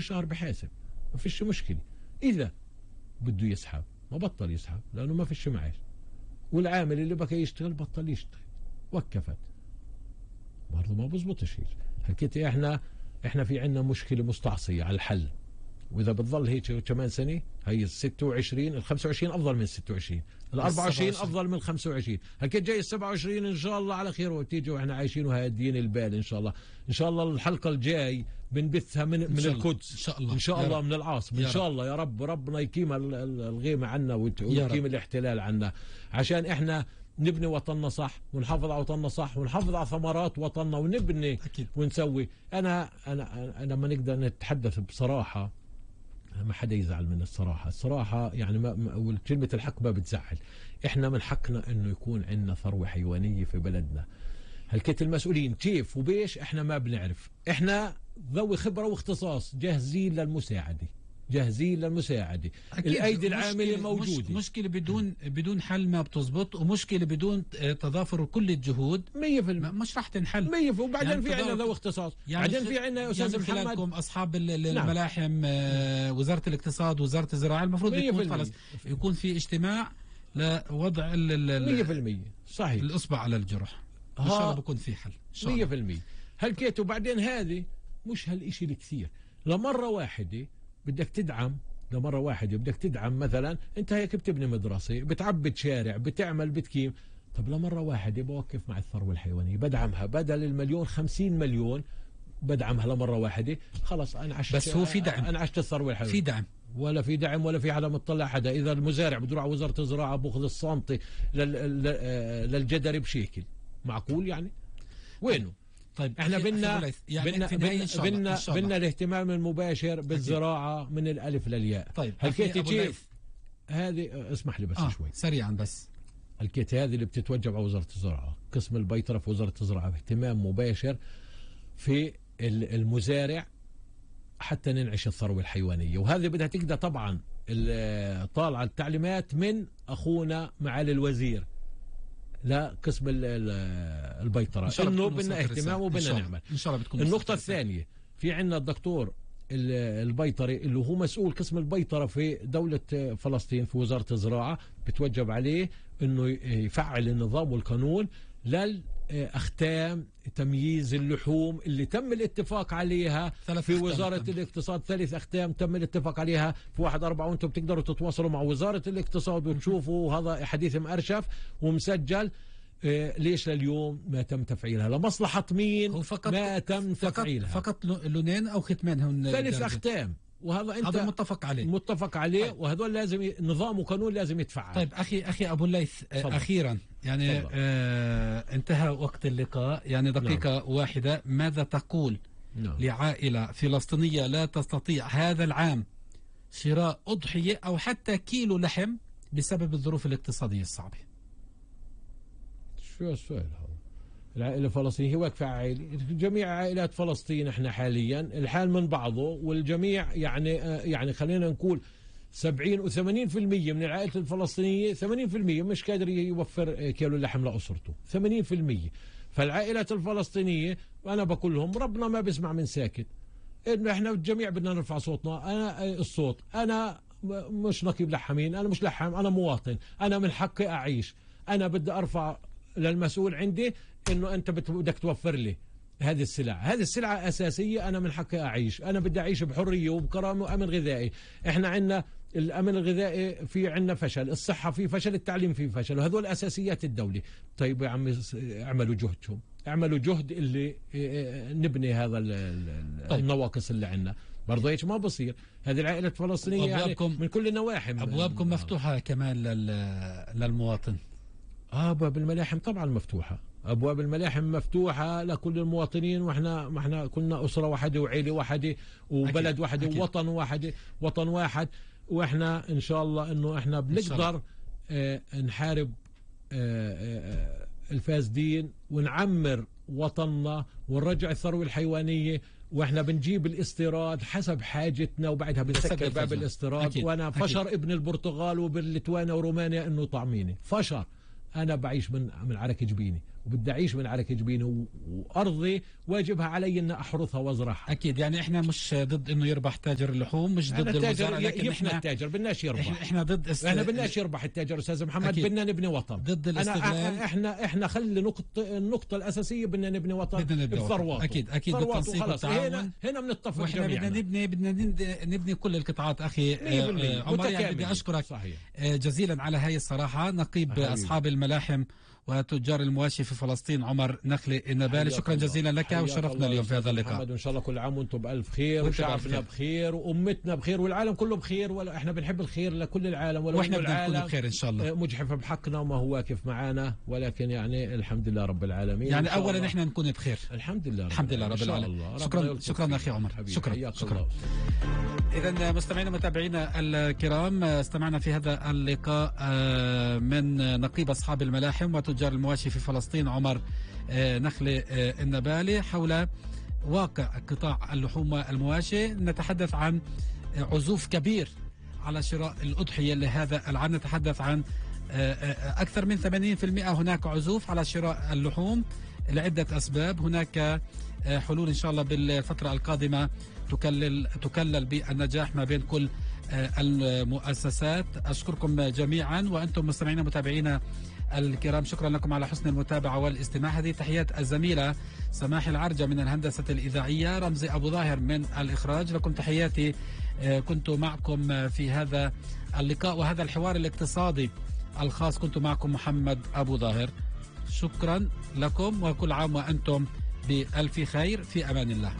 شهر بحاسب، ما فيش مشكلة. إذا بده يسحب ما بطل يسحب لأنه ما فيش معاش، والعامل اللي بكى يشتغل بطل يشتغل، وقفت. برضه ما بزبطش هيك. حكيت احنا في عنا مشكلة مستعصية على الحل، واذا بتظل هيك كمان سنه هي ال 26 ال 25 افضل من 26، ال 24 افضل من 25، هكذا جاي ال 27 ان شاء الله على خير وتيجي واحنا عايشين وهادين البال ان شاء الله. ان شاء الله الحلقه الجاي بنبثها من القدس ان شاء الله، ان شاء الله من العاصمه ان شاء الله. يا رب ربنا يقيم الغيمه عنا ويقيم الاحتلال عنا، عشان احنا نبني وطننا صح ونحافظ على وطننا صح ونحافظ على ثمرات وطننا ونبني أكيد. ونسوي. انا لما نقدر نتحدث بصراحه ما حدا يزعل من الصراحة يعني كلمة الحق ما بتزعل. احنا من حقنا انه يكون عندنا ثروة حيوانية في بلدنا. هلكيت المسؤولين كيف وبيش احنا ما بنعرف. احنا ذوي خبرة واختصاص جاهزين للمساعدة، الايدي العامله موجوده. مشكله بدون حل ما بتزبط، ومشكله بدون تضافر كل الجهود 100% مش راح تنحل 100%. وبعدين يعني في عندنا ذوي اختصاص، يعني بعدين في عندنا يا استاذ محمد خلالكم اصحاب الملاحم، وزاره الاقتصاد، وزاره الزراعه، المفروض يكون في اجتماع لوضع 100% صحيح الاصبع على الجرح. ان شاء الله بكون في حل 100%. هلكيت. وبعدين هذه مش هالشيء الكثير، لمره واحده بدك تدعم، لمرة واحدة بدك تدعم. مثلا انت هيك بتبني مدرسة، بتعبد شارع، بتعمل بتكيم. طب لمرة واحدة بوقف مع الثروة الحيوانية، بدعمها بدل المليون 50 مليون، بدعمها لمرة واحدة. خلص انا عشت، بس هو في دعم، انا عشت الثروة الحيوانية. في دعم ولا في دعم ولا في حدا مطلع حدا. اذا المزارع بده يروح على وزارة الزراعة باخذ السنتي للجدري بشيكل، معقول يعني؟ وينه؟ طيب احنا بنا الاهتمام المباشر بالزراعة من الالف للياء. طيب هلكيت كيف هذه؟ اسمح لي بس شوي سريعا بس. هلكيت هذه اللي بتتوجب على وزارة الزراعة، قسم البيطرة في وزارة الزراعة، اهتمام مباشر في المزارع حتى ننعش الثروة الحيوانية. وهذه بدها تقدر طبعا طالعة التعليمات من اخونا معالي الوزير لا قسم البيطرة، انه بدنا اهتمام وبدنا نعمل ان شاء الله. بتكون النقطة الثانية، في عندنا الدكتور البيطري اللي هو مسؤول قسم البيطرة في دولة فلسطين في وزارة الزراعة، بتوجب عليه انه يفعل النظام والقانون للأختام تمييز اللحوم اللي تم الاتفاق عليها في وزارة الاقتصاد. 3 أختام تم الاتفاق عليها في 1/4، وانتم بتقدروا تتواصلوا مع وزارة الاقتصاد وتشوفوا هذا حديث مأرشف ومسجل. ليش لليوم ما تم تفعيلها؟ لمصلحة مين ما تم تفعيلها؟ فقط لونين أو ختمان هن 3 أختام، وهذا انت هذا متفق عليه. طيب. وهذول لازم نظام وقانون لازم يتفعل. طيب اخي ابو الليث، اخيرا يعني انتهى وقت اللقاء، يعني دقيقة واحدة، ماذا تقول لعائلة فلسطينية لا تستطيع هذا العام شراء أضحية أو حتى كيلو لحم بسبب الظروف الاقتصادية الصعبة؟ شو السؤال هذا؟ العائلة الفلسطينية هي واقفة عائلة، جميع عائلات فلسطين احنا حاليا الحال من بعضه، والجميع يعني خلينا نقول 70 و80% من العائلة الفلسطينية 80% مش قادر يوفر كيلو لحم لأسرته 80%. فالعائلات الفلسطينية وانا بقول لهم ربنا ما بيسمع من ساكت، انه احنا الجميع بدنا نرفع صوتنا. انا مش نقيب لحامين، انا مش لحام، انا مواطن، انا من حقي اعيش. انا بدي ارفع للمسؤول عندي انه انت بدك توفر لي هذه السلعة أساسية. أنا من حقي أعيش، أنا بدي أعيش بحرية وبكرامة وأمن غذائي. إحنا عندنا الأمن الغذائي، في عندنا فشل، الصحة في فشل، التعليم في فشل، وهذول أساسيات الدولة. طيب يا عمي اعملوا جهدكم، اعملوا جهد اللي نبني هذا النواقص اللي عندنا. برضه هيك ما بصير. هذه العائلة الفلسطينية يعني من كل النواحي. أبوابكم مفتوحة كمان للمواطن. أبواب الملاحم طبعا مفتوحة، أبواب الملاحم مفتوحة لكل المواطنين. ما احنا كنا أسرة واحدة وعيلة واحدة وبلد واحد ووطن واحد. وإحنا إن شاء الله إنه إحنا بنقدر نحارب الفاسدين ونعمر وطننا ونرجع الثروة الحيوانية. واحنا بنجيب الاستيراد حسب حاجتنا وبعدها بنسكر باب الاستيراد. وانا فشر ابن البرتغال وبالليتوانيا ورومانيا انه طعميني فشر. انا بعيش من عرق جبيني وبدي أعيش من عرق جبيني، وأرضي واجبها علي أن أحرثها وأزرعها. أكيد، يعني إحنا مش ضد إنه يربح تاجر اللحوم، مش ضد الوزارة، لكن إحنا التاجر بدناش يربح. إحنا ضد إحنا بدناش يربح التاجر أستاذ محمد، بدنا نبني وطن ضد الاستغلال. إحنا خلي النقطة الأساسية بدنا نبني وطن بثرواته. أكيد بالتنسيق والتعاون. هنا بنتفق وإحنا بدنا نبني كل القطاعات أخي عمر. يعني بدي أشكرك صحيح جزيلا على هاي الصراحة. نقيب أصحاب الملاحم وتجار المواشي في فلسطين عمر نخلة النبالي، شكرا جزيلا لك وشرفنا اليوم في هذا اللقاء. وإن شاء الله كل عام وانتم بألف خير، وشعبنا بخير، وأمتنا بخير، والعالم كله بخير. ولا احنا بنحب الخير لكل العالم، واحنا بدنا نكون بخير ان شاء الله. مجحف بحقنا وما هو واقف معنا، ولكن يعني الحمد لله رب العالمين. يعني اولا احنا نكون بخير الحمد لله رب العالمين. شكرا اخي عمر، شكرا. إذا مستمعينا ومتابعينا الكرام، استمعنا في هذا اللقاء من نقيب أصحاب الملاحم وتجار المواشي في فلسطين عمر نخلة النبالي حول واقع قطاع اللحوم والمواشي. نتحدث عن عزوف كبير على شراء الأضحية لهذا العام، نتحدث عن أكثر من 80% هناك عزوف على شراء اللحوم لعدة أسباب. هناك حلول إن شاء الله بالفترة القادمة تكلل بالنجاح ما بين كل المؤسسات. أشكركم جميعا وأنتم مستمعين متابعينا الكرام، شكرا لكم على حسن المتابعة والاستماع. هذه تحيات الزميلة سماح العرجة من الهندسة الإذاعية، رمزي أبو ظاهر من الإخراج. لكم تحياتي، كنت معكم في هذا اللقاء وهذا الحوار الاقتصادي الخاص، كنت معكم محمد أبو ظاهر. شكرا لكم وكل عام وأنتم بألف خير، في أمان الله.